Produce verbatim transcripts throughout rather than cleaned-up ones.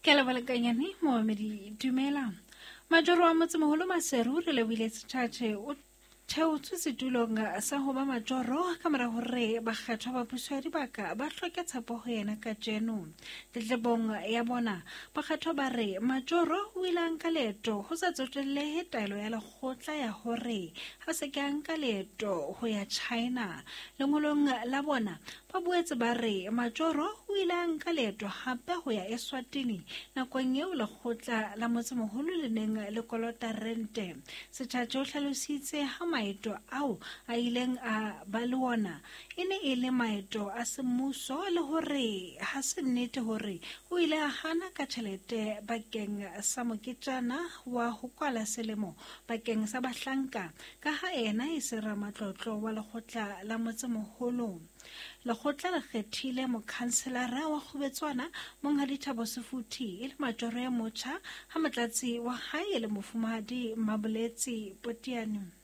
Ke leboha momamedi dumela. Majoro wa motsemoholo Maseru re lebohile Setjhatjhe o theotswe setulong sa ho ba majoro ka mora hore bakgethwa ba puso ya dibaka ba hloke tshepo ho yena kajeno. Tletlebong ya bona bakgethwa ba re majoro o ile a nka leeto ho sa tsotellehe taelo ya lekgotla ya hore ha se ke a nka leeto ho ya China. Lengolong la bona ba boetse ba re majoro o ile a nka leeto hape ho ya Eswatini nakong eo lekgotla la motsemoholo le neng le kolota rente. Setjhatjhe o hlalositse ha maeto ao a ileng a ba le ona e ne e le maeto a semmuso le hore ha se nnete hore o ile a hana ka tjhelete bakeng sa moketjana wa ho kwala selemo bakeng sa bahlanka ka ha ena e se ramatlotlo wa lekgotla la motsemoholo. Lekgotla le kgethile mokhanselara wa Kgubetswana Monghadi Thabo Sefuthi e le majoro ya motjha ha motlatsi wa hae e le mofumahadi Maboletsi Potiane.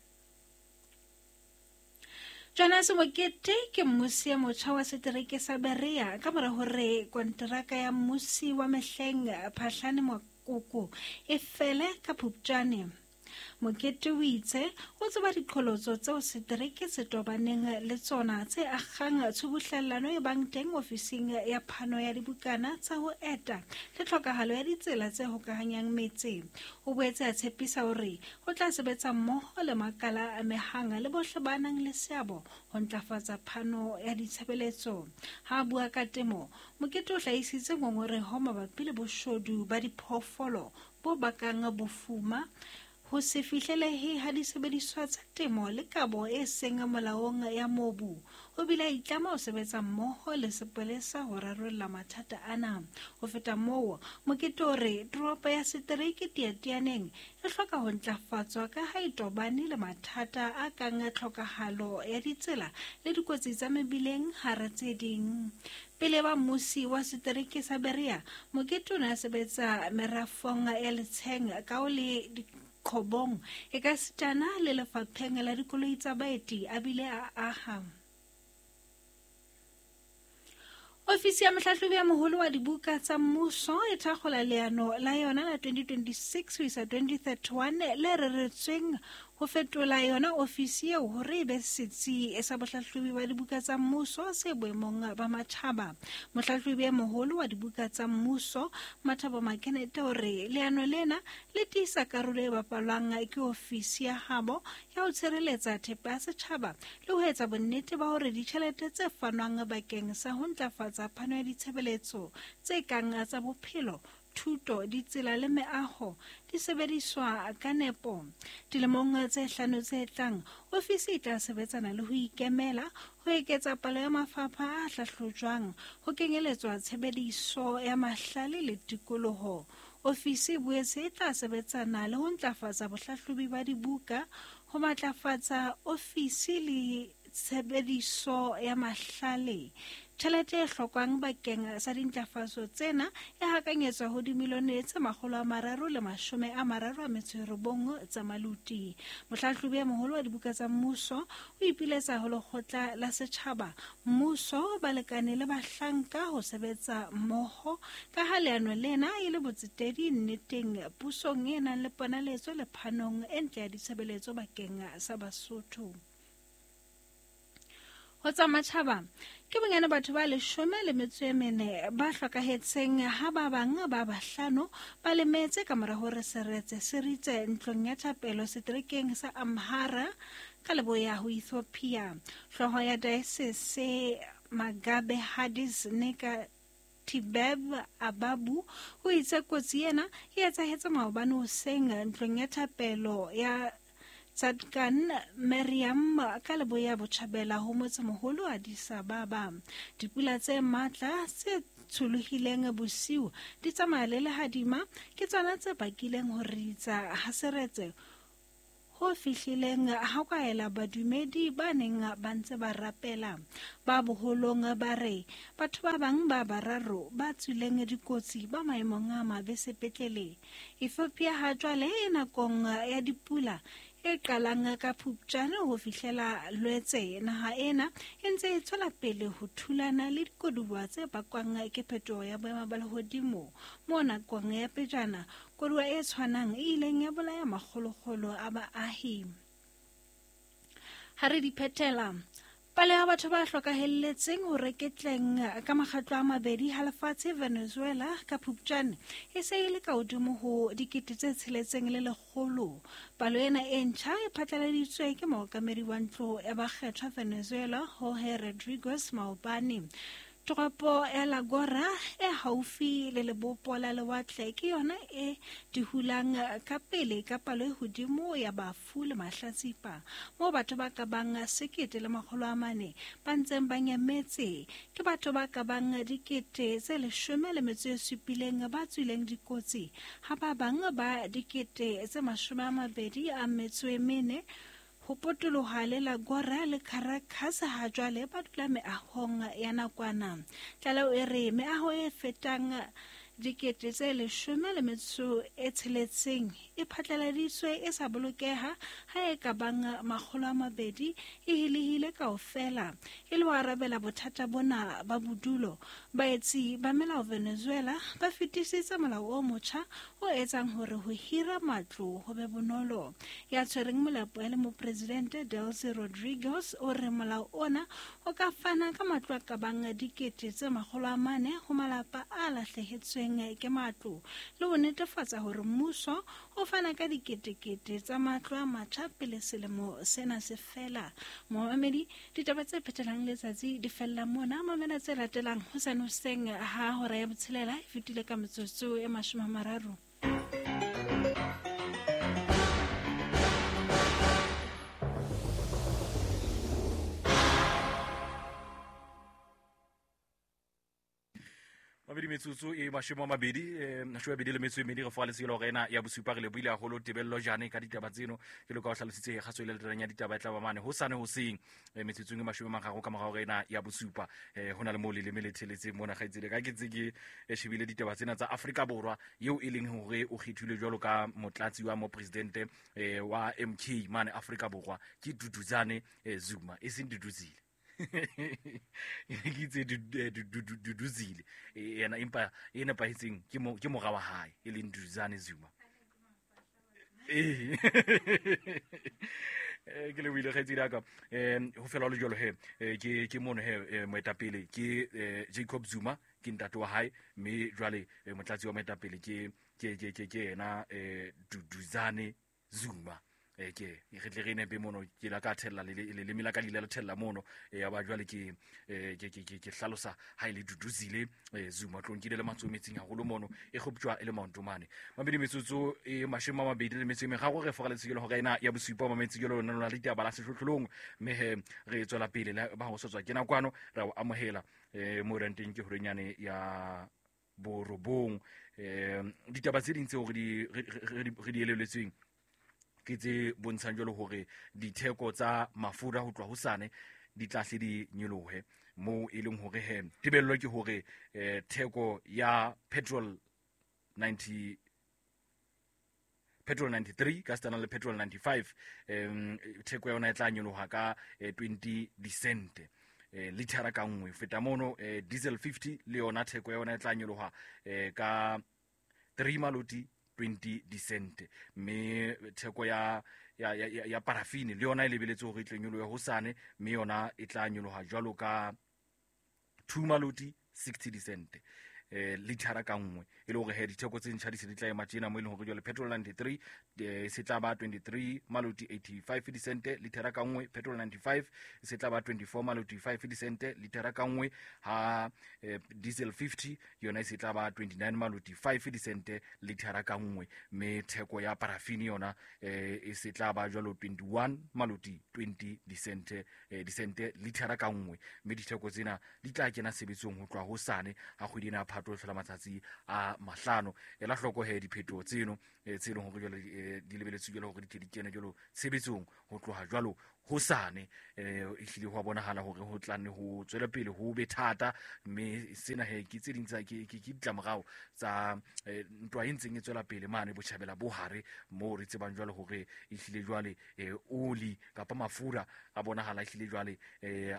Jonas Mokete ke mmusi ya motjha wa setereke sa Berea ka mora hore konteraka ya mmusi wa mehleng Phahlane Mokoko e fele ka Phupjane. Mokete o itse o tseba diqholotso tseo setereke se tobaneng le tsona tse akgang tshubuhlellano e bang teng ofising ya phano ya dibukana tsa ho eta le tlhokahalo ya ditsela tse hokahanyang metse. O boetse a tshepisa hore ho tla sebetsa mmoho le makala a amehang le bohle ba nang le seabo ho ntlafatsa phano ya ditshebeletso. Ha a bua ka temo, Mokete o hlahisitse ngongoreho mabapi le boshodu ba diphoofolo bo bakang bofuma, ho se fihlelehe ha disebediswa tsa temo le kabo e seng molaong ya mobu. O bile a itlama ho sebetsa mmoho le sepolesa ho rarolla mathata ana. Ho feta moo, Mokete o re toropo ya setereke Teatianeng e hloka ho ntlafatswa ka ha e tobane le mathata a kang tlhokahalo ya ditsela le dikotsi tsa mebileng hara tse ding. Pele ba mmusi wa setereke sa Berea, Mokete o ne a sebetsa merafong ya Letsheng kao le Qhobong e ka sitana le lefapheng la dikoloi tsa baeti a bile a aha. Ofisi ya mohlahlobi ya moholo wa dibuka tsa mmuso e thakgola leano la yona la twenty twenty-six ho isa twenty thirty-one le reretsweng ho fetola yona ofisi eo hore e be setsi sa bohlahlobi ba dibuka tsa mmuso se boemong ba matjhaba. Mohlahlobi ya moholo wa dibuka tsa mmuso Mathabo Makenete o re leano lena le tiisa karolo e bapalwang ke ofisi ya habo ya ho tshireletsa thepa ya setjhaba le ho etsa bonnete ba hore ditjhelete tse fanwang bakeng sa ho ntlafatsa phano ya ditshebeletso tse kang tsa bophelo, thuto, ditsela le meaho di sebediswa ka nepo. Dilemong tse hlano tse tlang, ofisi e tla sebetsana le ho ikemela, ho eketsa palo ya mafapha a hlahlojwang, ho kenyeletswa tshebediso ya mahlale le tikoloho. Ofisi e boetse e tla sebetsana le ho ntlafatsa bohlahlobi ba dibuka, ho matlafatsa ofisi le tshebediso ya mahlale. Tjhelete e hlokwang bakeng sa dintlafatso tsena e hakanyetswa ho dimilione tse makgolo a mararo le mashome a mararo a metso e robong tsa maluti. Mohlahlobi ya moholo wa dibuka tsa mmuso o ipiletsa ho lekgotla la setjhaba, mmuso, balekane le bahlanka ho sebetsa mmoho ka ha leano lena e le botsetedi nneteng pusong e nang le ponaletso le phanong e ntle ya ditshebeletso bakeng sa Basotho. Ho tsa matjhaba, ke bonyane batho ba leshome le metso e mene ba hlokahetseng ha ba bang ba bahlano ba lemetse ka mora hore seretse se ritse ntlong ya thapelo seterekeng sa Amhara ka leboya ho Ethiopia. Hlooho ya diocese Magabe Hadis Neka Tibeb Ababu o itse kotsi ena e etsahetse maobane hoseng ntlong ya thapelo ya Tsadkan Mariam ka leboya botjhabela ho motsemoholo Addis Ababa. Dipula tse matla tse tsholohileng bosiu di tsamaya le lehadima ke tsona tse bakileng ho ritsa ha seretse ho fihlileng ha kwaela badumedi ba neng ba ntse ba rapela. Ba boholong ba re batho ba bang ba bararo ba tswileng dikotsi ba maemong a mabe sepetlele. Ethiopia ha jwale e nakong ya dipula e qalang ka Phupjane ho fihlela Lwetse. Naha ena e ntse e tswela pele ho thulana le dikoduwa tse bakwang ke phetoho ya boemo ba lehodimo. Mo nakong ya pejana, koduwa e tshwanang e ileng ya bolaya makgolokgolo a baahi. Ha re di phethela, palo ya batho ba hlokahelletseng ho reketleng ka makgetlo a mabedi ha lefatshe Venezuela ka Phupjane e se e le ka hodimo ho dikete tse tsheletseng le lekgolo. Palo ena e ntjha e phatlaladitswe ke mookamedi wa ntlo ya bakgethwa Venezuela Jorge Rodriguez maobane. Toropo ya La Guaira e haufi le lebopo la lewatle ke yona e dihulang ka pele ka palo e hodimo ya bafu le mahlatsipa, moo batho ba ka bang sekete le makgolo a mane ba ntseng ba nyametse. Ke batho ba ka bang dikete tse leshome le metso e supileng ba tswileng dikotsi, ha ba bang ba dikete tse mashome a mabedi a metso e mene ho potoloha le La Guaira le Caracas ha jwale ba dula meahong ya nakwana. Tlaleho e re meaho e fetang dikete tse leshome le metso e tsheletseng e phatlaladitswe e sa bolokeha ha e ka bang makgolo a mabedi e hilehile kaofela. E le ho arabela bothata bona ba bodulo, baetsi ba melao Venezuela ba fetisitse molao o motjha o etsang hore ho hira matlo ho be bonolo. Ya tshwereng molapo e le mopresidente Delcy Rodriguez o re molao ona o ka fana ka matlo a ka bang dikete tse makgolo a mane ho malapa a lahlehetsweng ke matlo, le ho netefatsa hore mmuso o fana ka diketekete tsa matlo a matjha pele selemo sena se fela. Momamedi, ditaba tse phethelang letsatsi di fella mona. Mamela tse latelang hosane hoseng ha hora ya botshelela e fetile ka metsotso e mashome a mararo. Mabedi metsotso e mashome a mabedi, eh, mashome a mabedi le metso e medi re fa letselo hore ena ya bosupa re lebohile haholo Tebello Jane ka ditaba tseno. Ke loka ho hlalositse kgaso e latelang ya ditaba e tla ba mane hosane hoseng, eh, metsotsong e mashome a mararo ka morao hore ena ya bosupa. Eh, ho na le moo leleme le theletseng mona kgaitsedi ka ke ntse ke eh, shebile ditaba tsena tsa Afrika Borwa eo e leng hore o kgethilwe jwalo ka motlatsi wa mopresidente eh, wa M K mane Afrika Borwa ke Duduzane eh, Zuma, e seng Duduzile. Ke itse Duduzile yena, empa e nepahetseng ke mo ke mora wa hae e leng Duduzane Zuma. Eh ke le buile kgaitsedi ya ka, um ho fela ho le jwalo he, ke ke mono he moetapele ke Jacob Zuma, ke ntate wa hae, mme jwale motlatsi wa moetapele ke ke ke ke ke yena Duduzane Zuma. Eh ke re tle re nepe mono ke la ka thella le leleme la ka le ile la thella mono ya ba jwale ke ke ke ke hlalosa ha ile Duduzile Zuma tlong ke ile le matsoho metsing haholo mono e kgoptjwa e le maontomane. Mabedi metsotso e mashome a mabedi le metso e meraro re foga letshekelo hore ena ya bosupa mametsi ke lona lona ditaba la sehlohlolong, mme he re tswela pele le ba ho sotswa ke nakwano ra o amohela eh mo renteng ke horenyane ya borobong. Eh ditaba tse ding tseo re di re di eleletsweng ke tse bontshang jwalo hore ditheko tsa mafura ho tloha hosane di tla hle di nyolohe, moo e leng hore he tebello ke hore eh, theko ya petrol ninety petrol ninety-three ka setana le petrol ninety-five um theko ya yona e tla nyoloha ka eh, twenty dicent eh, lithara ka nngwe. Feta mono eh, diesel fifty le yona theko ya yona e tla nyoloha eh, ka three maloti twenty dicent, mme theko ya ya ya ya parafini le yona e lebeletse hore e tle nyolohe hosane, mme yona e tla nyoloha jwalo ka two maloti sixty dicent eh lithara ka nngwe. E le hore he ditheko tse ntjha di se di tla ema tjena, mo e leng hore jwale petrol ninety-three eh, se tla ba twenty-three maloti eighty-five dicent lithara ka nngwe, petrol ninety-five se tla ba twenty-four maloti five dicent lithara ka nngwe, ha eh, diesel fifty yona e se tla ba twenty-nine maloti five dicent lithara ka nngwe, mme theko ya parafini yona eh, e se tla ba jwalo twenty-one maloti twenty dicent eh, dicent lithara ka nngwe, mme ditheko tsena di tla kena sebetsong ho tloha hosane ha kgwedi ena tlo hlola matsatsi a mahlano. Ela hloko he diphetoho tseno tse leng hore jwale di lebeletswe jwalo hore di tle di kene jwalo tshebetsong ho tloha jwalo hosane. Eh ehlile ho bonahala hore ho tla nne ho tswele pele ho be thata, mme sena he ke tse ding tsa ke ke ditlamorao tsa ntwa e ntseng e tswela pele mane botjhabela bo hare, moo re tsebang jwalo hore ehlile jwale oli kapa mafura a bonahala ehlile jwale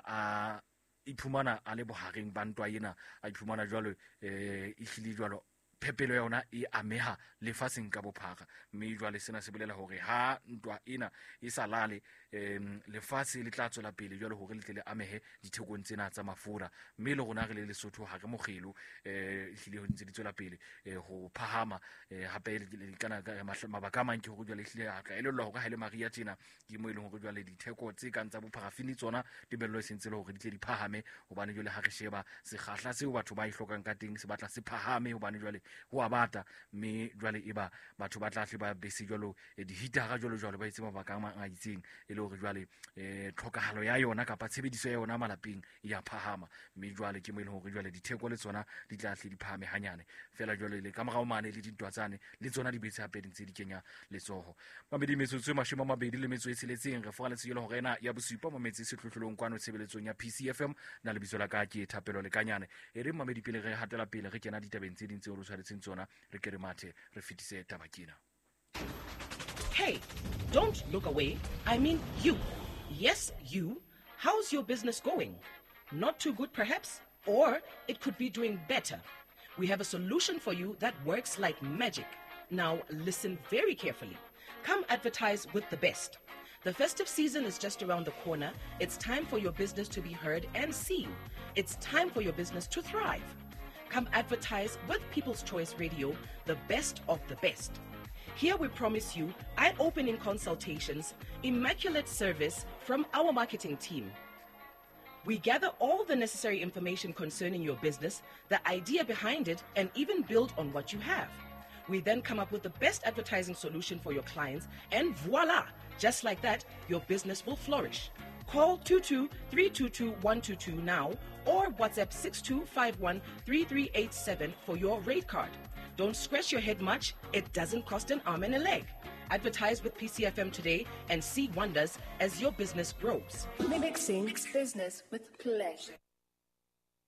a iphumana a le bohareng ba ntwa ena, a iphumana jwalo eh ehlile jwalo phepelo ya yona e ameha lefatsheng ka bophara. Mme jwale sena se bolela hore ha ntwa ena e sa lale, em lefatshe le tla tswela pele jwale hore le tle le amehe dithekong tsena tsa mafura. Mme le rona re le Lesotho ha re mokgelo, eh ehlile ho ntse di tswela pele ho phahama. Hape le kana mabaka a mang ke hore jwale ehlile a tla elellwa hore ha ile Maria tjena ke mo e leng hore jwale ditheko tse kang tsa bopharafini tsona tebello e sentse le hore di tle di phahame, hobane jwale ha re sheba sekgahla seo batho ba e hlokang ka teng se batla se phahame, hobane jwale ho a bata. Mme jwale eba batho ba tla hle ba bese jwalo dihitara jwalo jwalo ba itse mabaka a mang a itseng, e le hore jwale eh tlhokahalo ya yona kapa tshebediso ya yona malapeng e ya phahama. Mme jwale ke mo e leng hore jwale ditheko le tsona di tla hle di phahame hanyane fela. Jwale le ka morao mane le dintwa tsane le tsona di betse hape di ntse di kenya letsoho. Mamedi metsotso e mashome a mabedi le metso e tsheletseng re foraletse jwale hore ena ya bosupa mametse sehlohlolong kwano tshebeletsong ya P C F M. Na lebitso la ka ke Thapelo Lekanyane. E re mamedi pele re hatela pele re kena ditabeng tse ding tseo re tshwaretseng tsona, re ke re mathe re fetise taba kena. Hey, don't look away. I mean you. Yes, you. How's your business going? Not too good, perhaps? Or it could be doing better. We have a solution for you that works like magic. Now, listen very carefully. Come advertise with the best. The festive season is just around the corner. It's time for your business to be heard and seen. It's time for your business to thrive. Come advertise with People's Choice Radio, the best of the best. Here we promise you eye-opening consultations, immaculate service from our marketing team. We gather all the necessary information concerning your business, the idea behind it, and even build on what you have. We then come up with the best advertising solution for your clients, and voila! Just like that, your business will flourish. Call two two three two two one two two now or WhatsApp six two five one three three eight seven for your rate card. Don't scratch your head much. It doesn't cost an arm and a leg. Advertise with P C F M today and see wonders as your business grows. Mixing business with pleasure.